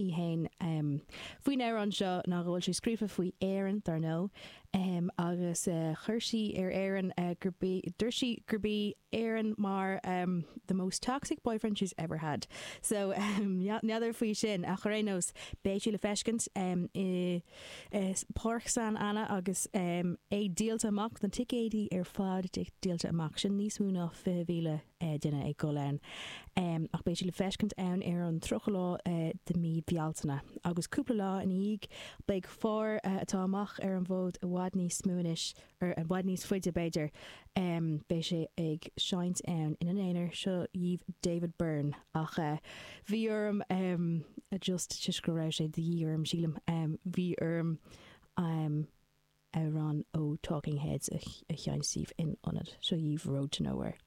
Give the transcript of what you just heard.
í fhéin faoin amhrán seo ná go bhfuil sé scríofa faoi Éirinn, dar ndóigh, agus chuir sí ar Éirinn gurb í, dúirt sí gurb í Éirinn mar the most toxic boyfriend she's ever had. So n'fheadar faoi sin ach ar aon nós beidh sí le feiscint i Páirc San Anna agus é díolta amach, na ticéidí ar fad díolta amach, sin níos mó ná 20,000 duine ag dul ann. Ach beidh sí le feiscint ann ar an 30 lá de mí Bealtaine. Agus cúpla lá ina dhiaidh beidh fear atá amach ar an bhfód i bhfad níos mó anois, ar i bhfad níos faide b'fhéidir, beidh sé ag seinnt ann ina aonar, seo dhaoibh David Byrne. Ach bhí orm just toisc go raibh sé de dhíth orm sílim, bhí orm amhrán ó Talking Heads a sheinnt daoibh in ionad. Seo dhaoibh Road to Nowhere.